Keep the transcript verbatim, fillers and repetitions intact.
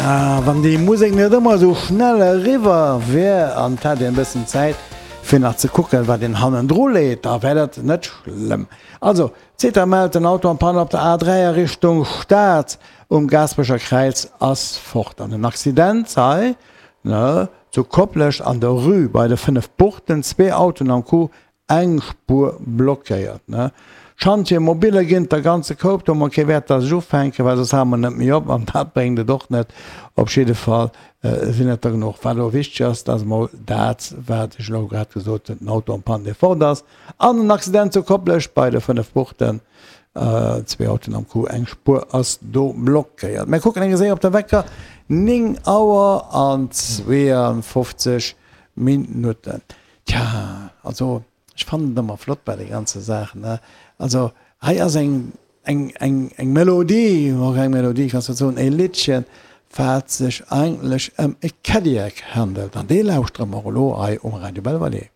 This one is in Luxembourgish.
Ah, wann déi Musek net ëmmer esou schnell eriwwer wär an et hätt een e bëssen Zäit fir nach ze kucken, wat een hannendru leet, da wär dat net schlëmm. Also, CETA mellt, den Auto en panne op der A dräi a Richtung Stad um Gaasperecher Kräiz ass fort. An en Accident hei, ne, zu Koplescht an der Rue bei de Fënnef Buchten, zwee Autoen am Coup, eng Spuer blockéiert, ne. Chantier mobile ginn der ganze Koup, do hu mer kee Wäert, dass ech ufänken, well soss hale mer net méi op an dat bréngt et och net. Op jidde Fall sinn et der genuch. Wat elo wichteg ass, dat ass emol dat, wat ech elo grad gesot hunn, den Auto en panne, dee fort ass an en Accident zu Koplescht bei de Fënnef Buchten, zwee Autoen am Coup, eng Spuer ass do blockéiert. Mir kucken eng Séier op de Wecker, néng Auer an zweeënfofzeg Minutten. Tja, also ech fannen et ëmmer flott bei de ganze Saachen, ne? Also hei ass eng, eng, eng, eng Melodie, och eng Melodie kanns du soen, e Liddchen, wat sech eigentlech ëm e Cadillac handelt. An dee lauschtere mer elo hei um Radio Belvalée.